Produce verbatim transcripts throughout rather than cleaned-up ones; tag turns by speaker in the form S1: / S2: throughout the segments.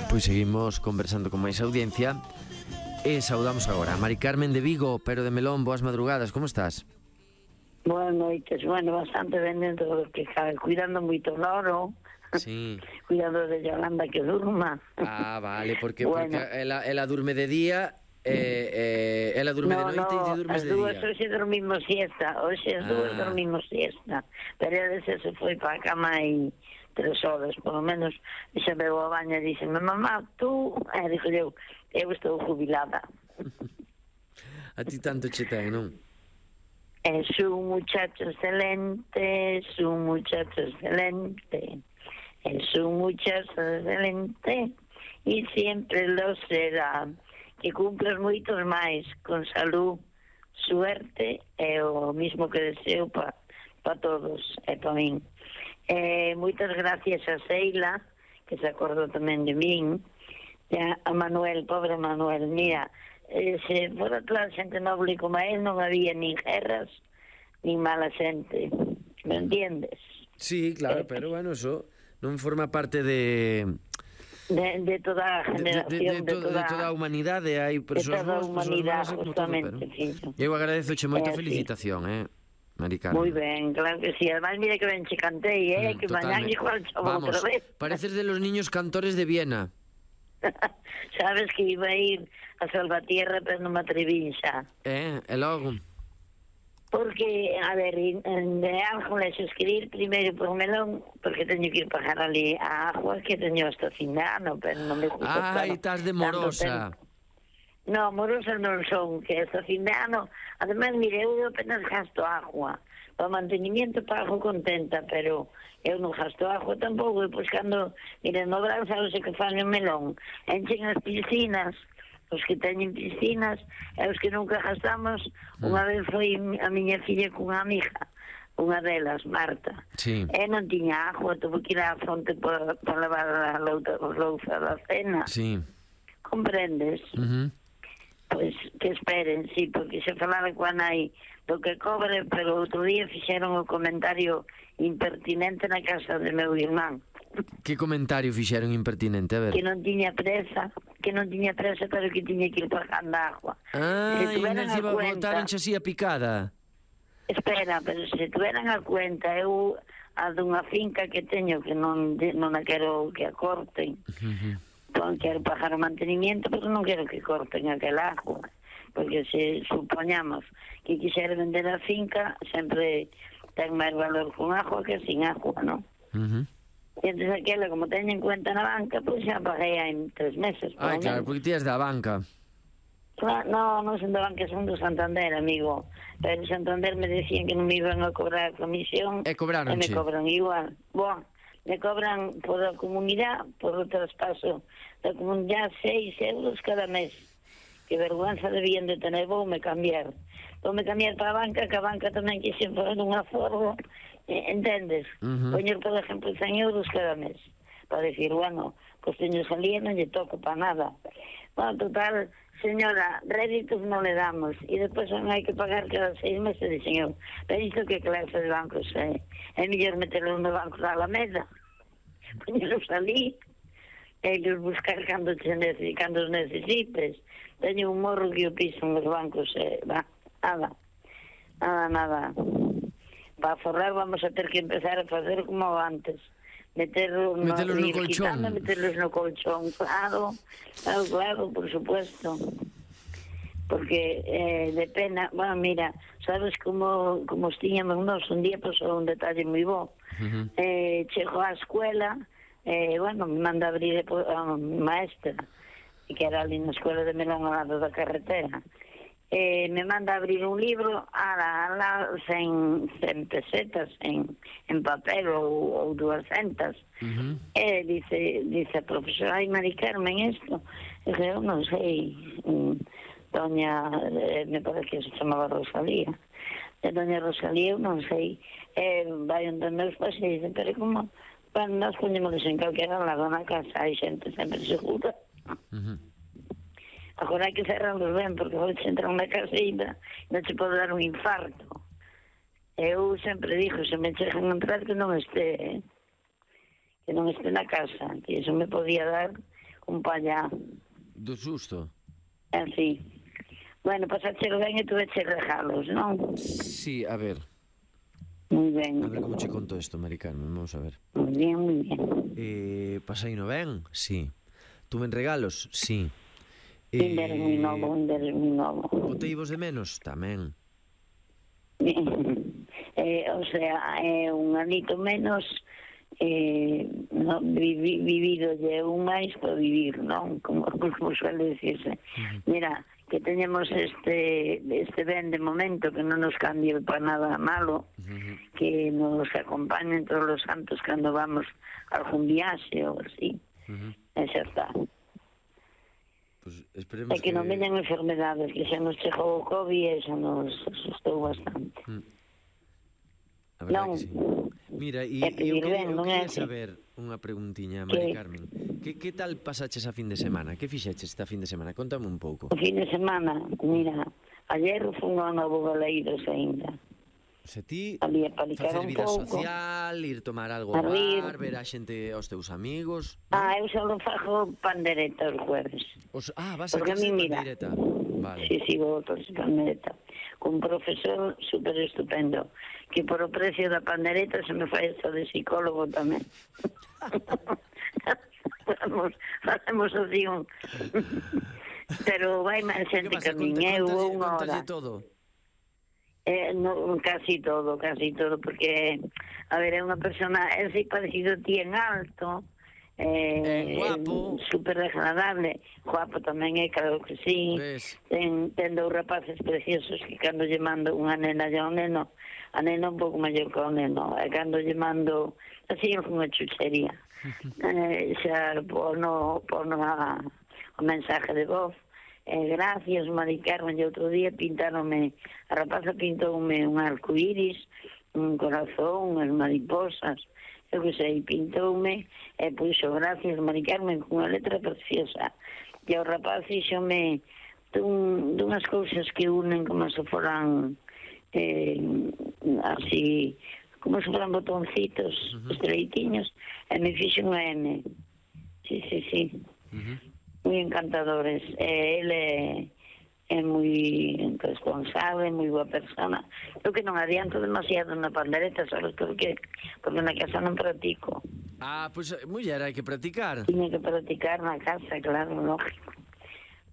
S1: Pois seguimos conversando con máis audiencia e saudamos agora a Mari Carmen de Vigo, pero de Melón. Boas madrugadas, como estás?
S2: Boas noites, bueno, bastante ben dentro do que cabe, cuidando moito o loro.
S1: Sí.
S2: Cuidando de Yolanda que durma.
S1: Ah, vale, porque,
S2: bueno.
S1: porque ela, ela durme de día eh, eh, ela durme
S2: no,
S1: de noite
S2: no,
S1: e ti durmes de
S2: dúas,
S1: día.
S2: hoxe dormimos siesta, hoxe as ah. dúas dormimos siesta, pero ela se foi para a cama e tres horas, por lo menos, e se veu a baña e dixe, mamá, tú, e dixo eu, eu estou jubilada.
S1: A ti tanto che ten, non?
S2: Es un muchacho excelente, es un muchacho excelente, es un muchacho excelente y siempre lo será. Que cumplas moitos máis, con salud, suerte e o mismo que deseo para pa todos e para min. Eh, moitas gracias a Seila, que se acordou tamén de min, e a Manuel, pobre Manuel, mira, eh, se fora toda a xente noble como a él non había nin guerras nin mala xente, me entiendes?
S1: Sí, claro, eh, pero bueno, eso non forma parte de...
S2: De, de toda a generación, de, de, de,
S1: de, toda, de toda a humanidade, hai persoas boas, persoas malas, justamente, pero... Eu agradezoche moita eh, felicitación, sí. eh, Mari Carmen.
S2: Moi ben, claro que sí, además mira que ben che cantei, eh, mm, que mañán igual chavo outra vez.
S1: Pareces de los niños cantores de Viena.
S2: Sabes que iba a ir a Salvatierra, pero non me atreví xa.
S1: Eh, e logo...
S2: Porque, a ver, de Ángeles escribir primeiro por Melón, porque teño que ir pagar ali a agua que teño hasta fin de ano, pero non me gusta.
S1: Ai, estás de morosa.
S2: No, morosa non son, que hasta fin de ano, además, mire, eu apenas gasto agua, para mantenimiento pago contenta, pero eu non gasto agua tampouco, e pois cando, mire, no verán, sabes que fan en Melón, enchen as piscinas, os que teñen piscinas e os que nunca gastamos. Mm. Unha vez foi a miña filla cunha amiga, unha delas, Marta,
S1: sí.
S2: E non tiña agua, tuvo que ir á fonte para pa lavar a louza da cena.
S1: Sí.
S2: Comprendes?
S1: Uh-huh.
S2: Pois que esperen, sí, porque se falaba coa nai do que cobre, pero outro día fixeron o comentario impertinente na casa de meu irmán.
S1: Que comentario fixeron impertinente, a ver?
S2: Que non tiña presa, que non tiña presa, pero que tiña que ir pagando agua.
S1: Ah, e encima botaron así a picada.
S2: Espera, pero se tuveran a cuenta, eu a dunha finca que teño que non non a quero que a corten, uh-huh. Non quero pagar o mantenimiento, pero non quero que corten aquel agua, porque se supoñamos que quixera vender a finca, sempre ten máis valor con agua que sin agua, non?
S1: Uh-huh.
S2: E entón aquela, como teño en cuenta na banca, pois xa paguei en tres meses.
S1: Ai, claro, porque ti és da banca.
S2: Claro, no, non son da banca, son do Santander, amigo. Pero en Santander me decían que non me iban a cobrar a comisión.
S1: E cobraron,
S2: E me cobran igual. Boa, me cobran por a comunidade, por o traspaso da comunidade, seis euros cada mes. Que vergüenza debían de tener, vou me cambiar. Vou me cambiar para a banca, que a banca tamén quixen fazer unha forma. Entendes? Uh-huh. Poñer, por exemplo, cen euros cada mes para decir, bueno, pues teño salía, non lle toco para nada. Bueno, total, señora, réditos non le damos e despois non hai que pagar cada seis meses, dixen eu, pero isto que clase de bancos é? É mellor meterlo no banco da Alameda, poñelos ali e los buscar cando, te, cando os necesites. Teño un morro que o piso nos bancos, eh, va, nada, nada, nada. Para forrar vamos a ter que empezar a fazer como antes, meterlos no,
S1: meterlos no colchón,
S2: quitando, meterlos no colchón, claro, claro, claro, por supuesto, porque eh, de pena, bueno, mira, sabes como como os tiñamos nós, un día pasou un detalle moi bo. Uh-huh. eh, chego á escuela, eh, bueno, me manda abrir a maestra, que era ali na escuela de Melón ao lado da carretera. Eh, me manda abrir un libro a la, a la cen, cen pesetas en, en papel ou, ou duascentas. Uh-huh. E dice, dice a profesora, ai, Mari Carmen, isto? E dice, eu non sei, doña, eh, me parece que se chamaba Rosalía, e doña Rosalía, eu non sei, e vai onde meus pais e dice, pero como, bueno, nós poñémonos en calquera lado na casa, hai xente sempre segura. Uh-huh. Agora hai que cerrarlos ben, porque vou entrar na caseira e non se pode dar un infarto. Eu sempre dixo, se me chegan a entrar que non este, eh? que non este na casa, que iso me podía dar un pallá.
S1: Do susto?
S2: Así. Bueno, pasáchelo ben e tuveche regalos, non?
S1: Sí, a ver.
S2: Moi ben.
S1: A ver como che conto isto, Mari Carmen, vamos a ver.
S2: Moi bien, moi bien.
S1: Eh, pasaino ben? Sí. Tuven regalos? Sí.
S2: Eh, un deles moi novo, un deles moi novo.
S1: Botei vos de menos? Tamén.
S2: eh, o sea, é un anito menos eh, no, vivi, vivido lle un máis para vivir, non? Como, como suele decirse. Uh-huh. Mira, que teñemos este este ben de momento que non nos cambie para nada malo, uh-huh. que nos acompañen todos os santos cando vamos a algún viaxe ou así. Uh-huh. E xa está.
S1: Pues esperemos
S2: é que, que non veñan enfermedades, que xa nos chegou o COVID e xa nos asustou bastante. Mm.
S1: A verdade non. Que sí. Mira, e eu quería, eu quería saber unha preguntiña, Mari Carmen. Que, que tal pasaches a fin de semana? Que fixeches esta fin de semana? Contame un pouco.
S2: O fin de semana, mira, ayer fui a Novo Baleiros ainda.
S1: Se ti
S2: facer
S1: vida social, ir tomar algo ao bar, ver a xente, aos teus amigos...
S2: Ah, eu só non fago pandereta os jueves.
S1: Os, ah, vas a clase de pandereta. Vale.
S2: Sí, sí, vou a clase de pandereta. Con un profesor super estupendo, que por o precio da pandereta se me fai esto de psicólogo tamén. Facemos, facemos así un... Pero vai máis xente que a min, eu vou unha hora.
S1: Todo?
S2: Eh, no, casi todo, casi todo, porque, a ver, é unha persona, é así parecido a ti en alto, eh,
S1: eh, guapo,
S2: super agradable, guapo tamén é, claro que sí, ten, ten dous rapaces preciosos que cando lle mando unha nena e un neno, a nena un pouco maior que o neno, e cando lle mando, así é unha chuchería, eh, xa pono, pono a, o mensaje de voz. Eh, gracias, Mari Carmen, e outro día pintáronme, a rapaza pintoume un arcoíris, un corazón, unhas mariposas, eu que sei, pintoume, e puxo gracias, Mari Carmen, con unha letra preciosa, e o rapaz fixome dun, dunhas cousas que unen como se foran eh, así, como se foran botoncitos, uh-huh. estreitiños, e me fixo unha M. Sí, sí, sí. Uh-huh. Moi encantadores. Eh, ele é moi responsable, moi boa persona. Eu que non adianto demasiado na pandereta, sabes por qué? Porque na casa non practico.
S1: Ah, pois, pues, muller, hai que practicar.
S2: Tiene que practicar na casa, claro, lógico.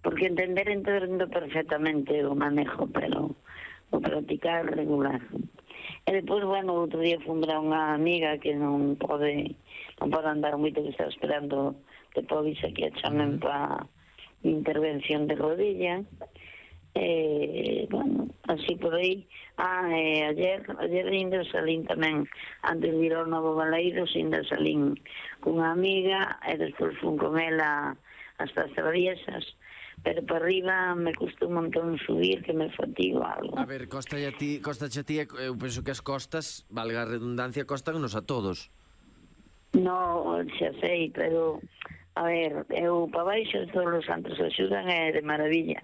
S2: Porque entender entendo perfectamente o manejo, pero o practicar regular. E depois, bueno, outro día fui a unha amiga que non pode non pode andar moito, que está esperando te podis aquí a chamen para intervención de rodilla. Eh, bueno, así por aí. Ah, eh, ayer, ayer ainda salín tamén, antes de ir ao Novo Baleiros, ainda salín cunha amiga, e despois fun con ela hasta as Traviesas, pero para arriba me custa un montón subir, que me fatigo algo.
S1: A ver, costa a ti, costa a ti, eu penso que as costas, valga a redundancia, costanos a todos.
S2: No, xa sei, pero a ver, eu para baixo todos os santos axudan é de maravilla,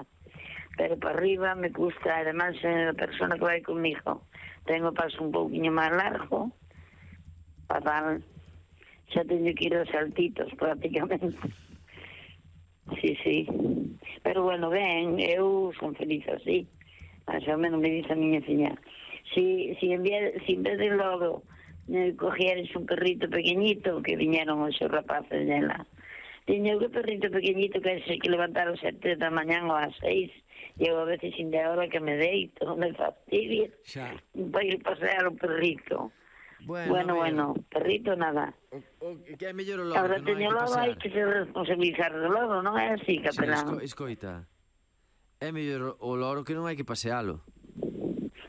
S2: pero para arriba me custa, además a persona que vai comigo ten o paso un pouquinho máis largo, fatal, xa teño que ir aos saltitos prácticamente. Sí, sí, pero bueno, ben, eu son feliz así, máis ou menos me dice a miña filla, si, si, en vez, si en vez de logo me cogieres un perrito pequeñito, que viñeron os seus rapaces dela, tiña un perrito pequeñito que hai que levantar as sete da mañán ou ás seis, e eu a veces sin de hora que me deito, me fastidia para ir pasear o perrito. Bueno, bueno, bueno, perrito nada.
S1: O, o, que é mellor o logo,
S2: ahora
S1: que non hai que
S2: logo
S1: pasear.
S2: hai que se responsabilizar do logo, non é así, capelán?
S1: Sí, esco, escoita, é mellor o loro que non hai que pasealo.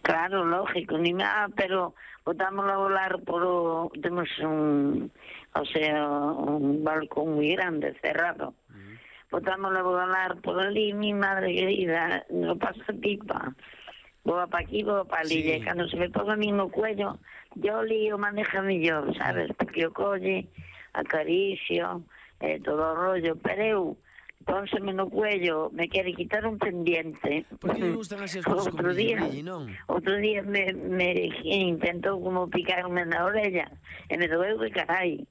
S2: Claro, lógico, ni nada, pero botámoslo a volar por o... Temos un... O sea, un balcón moi grande, cerrado. Uh-huh. Botámoslo a volar por ali, mi madre querida, no pasa pipa. Voa pa aquí, voa pa ali, sí. E cando se me ponga a mí no cuello, yo lío maneja mellor, sabes? Porque o colle, acaricio, eh, todo o rollo, pero eu, pónseme no cuello, me quere quitar un pendiente.
S1: Por que me gustan así as cousas como brilli, non?
S2: Outro día me, me intentou como picarme na orella, e me doeu de carai.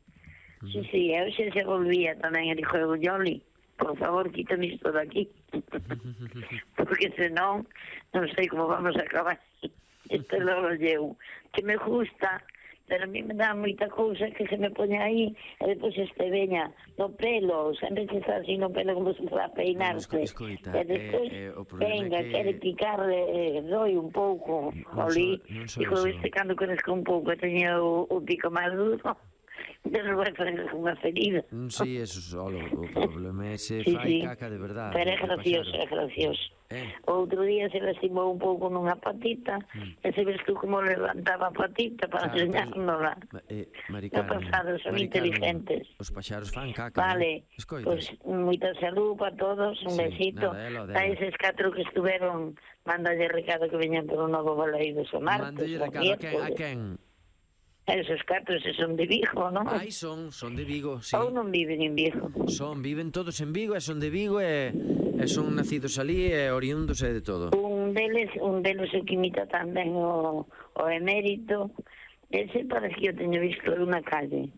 S2: Sí, sí, eu xa se volvía tamén, e dixo, Yoli, por favor, quítame isto daqui. Porque senón, non sei como vamos a acabar. Isto logo llevo. Que me gusta, pero a mí me dá moita cousa que se me pone aí, e depois este veña no pelo, sempre se está así no pelo como se va a peinarse.
S1: Bueno, escoita,
S2: e despois,
S1: eh, eh, o problema
S2: venga,
S1: é que...
S2: quere picarle, eh, doi un pouco,
S1: Non
S2: olí,
S1: so- non so
S2: dijo,
S1: eso.
S2: este cando conezco un pouco, teña o, o pico máis duro, pero vai fazer unha ferida.
S1: Mm, Sí, eso só, o problema é se
S2: Sí,
S1: fai
S2: sí.
S1: caca de verdade.
S2: Pero é
S1: de
S2: gracioso,
S1: paxaro.
S2: é gracioso.
S1: Eh?
S2: Outro día se lastimou un pouco nunha patita,
S1: Mm.
S2: e se ves tú como levantaba a patita para
S1: Claro, pero-
S2: enseñárnosla.
S1: Eh, Mari
S2: No
S1: Carmen,
S2: pasado, son
S1: Mari Carmen,
S2: inteligentes.
S1: os paxaros fan caca,
S2: Vale,
S1: eh? Escoitas.
S2: pois pues, moita salud para todos, un
S1: Sí,
S2: besito.
S1: nada, ela,
S2: A
S1: dela.
S2: eses catro que estuveron, mandalle recado que veñan por un novo baleiro o martes,
S1: Mándalle
S2: o
S1: recado a quen, a
S2: miércoles.
S1: quen?
S2: Esos catro se son de Vigo, non?
S1: Ai, son, son de Vigo, sí.
S2: Ou non viven en Vigo.
S1: Son, viven todos en Vigo e son de Vigo e, e son nacidos ali e oriundos e de todo.
S2: Un deles, un deles o que imita tamén o, o emérito. Ese parece que eu teño visto en unha calle.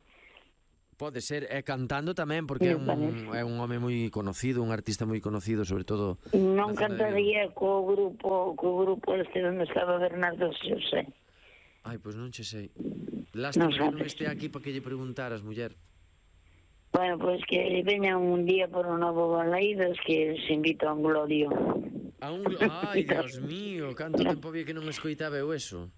S1: Pode ser, e cantando tamén, porque é
S2: Me
S1: un,
S2: parece.
S1: é un home moi conocido, un artista moi conocido, sobre todo
S2: Non
S1: na zona de Vigo.
S2: cantaría co grupo, co grupo este onde estaba Bernardo Xosé.
S1: Ai, pois non che sei. Lástima
S2: Non
S1: que non
S2: sabes.
S1: este aquí para que lle preguntaras, muller.
S2: Bueno, pois que veñan un día por un novo Balaidos que se invita a un glorio.
S1: A un... Ai, Dios mío, canto tempo había que non escoitaba eu eso.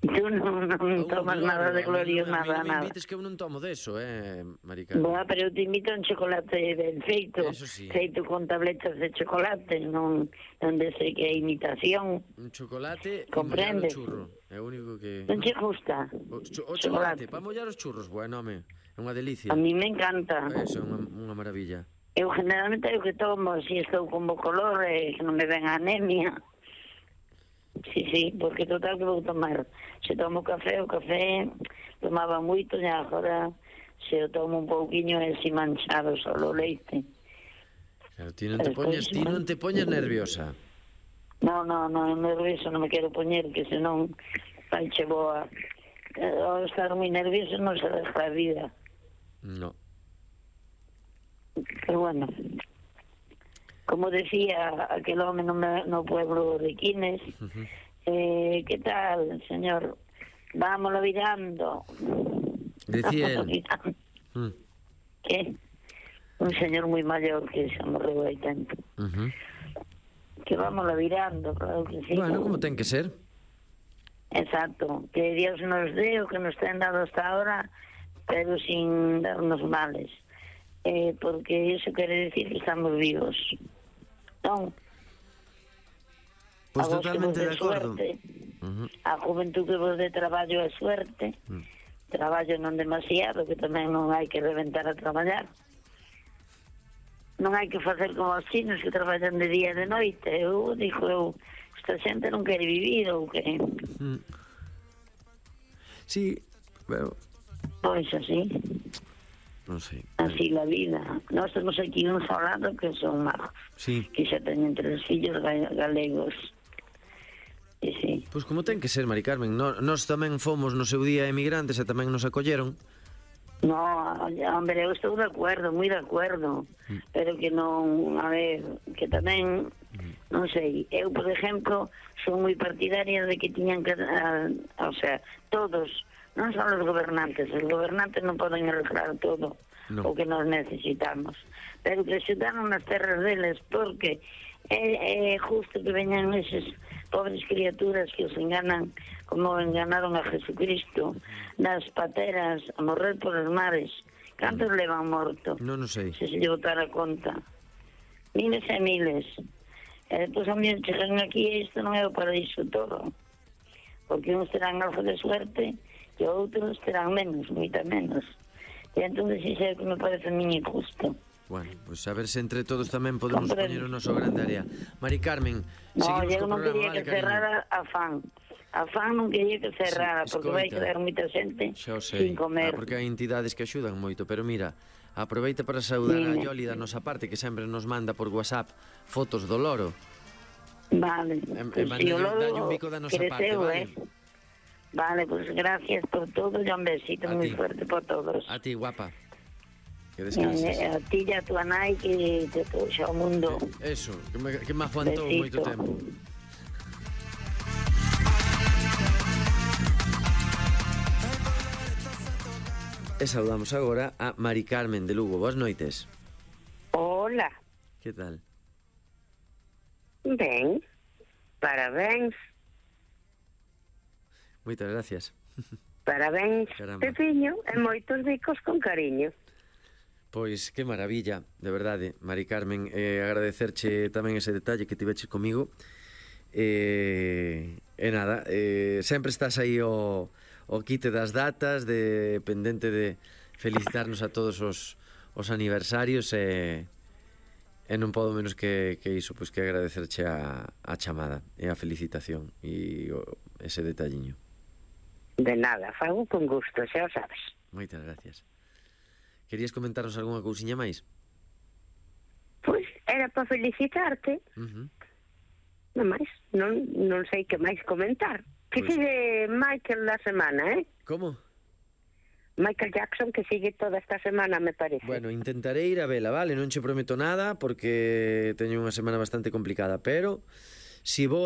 S2: Tú non, non
S1: A un
S2: tomas
S1: glorio,
S2: nada de
S1: a mí
S2: glorio,
S1: non- a mí
S2: nada,
S1: non me
S2: nada.
S1: invites que eu non tomo deso, eh, Mari Carmen.
S2: Boa, pero eu te invito a un chocolate ben feito,
S1: Eso sí.
S2: feito con tabletas de chocolate, non onde sei que é imitación.
S1: Un chocolate e
S2: Comprendes?
S1: mollar o churro. É o único que...
S2: Non che gusta?
S1: O, cho- o chocolate, para mollar os churros, bueno, home, é unha delicia.
S2: A mí me encanta.
S1: Eso é unha, unha maravilla.
S2: Eu generalmente é o que tomo, se estou con bo color e que non me ven anemia. Sí, sí, porque total que vou tomar. Se tomo café, o café tomaba moito e agora se eu tomo un pouquiño é así manchado solo o leite.
S1: Claro, ti non te
S2: Despois,
S1: poñes, ti non te poñes nerviosa.
S2: No, no, no, nervioso non me quero poñer, que senón faiche boa. Eh, Ao estar moi nervioso non se deja a vida.
S1: No.
S2: Pero bueno, como decía aquel home no, me- no pueblo de Quines,
S1: Ujú.
S2: eh, ¿qué tal, señor? Vámonos virando.
S1: Decía
S2: Vámonos
S1: él.
S2: virando.
S1: Mm.
S2: ¿Qué? Un señor muy mayor que se morreu hai tempo.
S1: Ujú.
S2: Que vámonos virando, claro que sí.
S1: Bueno, como ten que ser.
S2: Exacto, que Dios nos dé o que nos ten dado hasta ahora, pero sin darnos males. Eh, porque eso quere decir que estamos vivos. Non?
S1: Pois
S2: A vos que
S1: totalmente
S2: vos
S1: de
S2: de
S1: acordo.
S2: suerte,
S1: Ujú.
S2: a juventud que vos de traballo é suerte,
S1: Mm.
S2: traballo non demasiado, que tamén non hai que reventar a traballar. Non hai que facer como os chinos que traballan de día e de noite. Eu, dixo eu, esta xente non quere vivir ou que...
S1: Mm. Sí, pero
S2: Pois así,
S1: non sei.
S2: así la vida. Nós temos aquí un solado que son magos,
S1: Sí.
S2: que xa teñen tres fillos ga- galegos. E sí.
S1: Pois como ten que ser, Mari Carmen. No, nós tamén fomos no seu día emigrantes e tamén nos acolleron.
S2: No, hombre, eu estou de acuerdo, moi de acuerdo, pero que non, a ver, que tamén, non sei, eu, por exemplo, son moi partidaria de que tiñan que, a, o sea, todos, non só os gobernantes, os gobernantes non poden arreglar todo
S1: No.
S2: o que nos necesitamos, pero que axudaron nas terras deles, porque é, é justo que veñan eses pobres criaturas que os enganan como enganaron a Jesucristo nas pateras a morrer por os mares. Cantos levan morto?
S1: Non o sei.
S2: Se se lle botara a conta. Miles e miles. E depois a mí chegan aquí e isto non é o paraíso todo. Porque uns terán algo de suerte e outros terán menos, moita menos. E entón iso é o que me parece a mí injusto.
S1: Bueno, pois pues a ver se entre todos tamén podemos
S2: Comprendo.
S1: poñer o noso grande área. Mari Carmen,
S2: No,
S1: seguimos
S2: eu
S1: co
S2: non
S1: programa,
S2: quería
S1: vale,
S2: que
S1: cariño?
S2: cerrara a fan. A fan non quería que cerrara,
S1: Sí,
S2: porque vai
S1: escoita.
S2: quedar moita xente
S1: Xa o sei,
S2: sin comer.
S1: ah, porque hai entidades que axudan moito, pero mira, aproveita para saudar a
S2: Dime.
S1: Yoli da nosa parte, que sempre nos manda por WhatsApp fotos do loro.
S2: Vale.
S1: E- e
S2: Pois
S1: mándalle-
S2: si o lobo
S1: dalle un bico da nosa parte,
S2: creceu,
S1: vale?
S2: eh? Vale, pues gracias por todo y un besito muy fuerte por todos.
S1: A ti, guapa. Que
S2: descanses. Eh, a ti e a tua nai que te puxa o mundo.
S1: Eso, que me, que me aguantou moito tempo. E saudamos agora a Mari Carmen de Lugo. Boas noites.
S3: Hola.
S1: Que tal?
S3: Ben, parabéns.
S1: Moitas gracias.
S3: Parabéns, Pepiño, e moitos bicos con cariño.
S1: Pois, que maravilla, de verdade, Mari Carmen, eh, agradecerche tamén ese detalle que tiveches comigo. E, e nada, eh, sempre estás aí o, o quite das datas, de pendente de felicitarnos a todos os, os aniversarios, e, e non podo menos que, que iso, pois que agradecerche a, a chamada e a felicitación e o, ese detalliño.
S3: De nada, fago con gusto, xa o sabes.
S1: Moitas gracias. Querías comentarnos algunha cousiña máis?
S3: Pois, era para felicitarte.
S1: Uh-huh.
S3: Non máis, non, non sei que máis comentar. Que pues... sigue Michael la semana, eh?
S1: Como?
S3: Michael Jackson, que sigue toda esta semana, me parece.
S1: Bueno, intentarei ir a vela, vale? Non che prometo nada, porque teño unha semana bastante complicada, pero si vou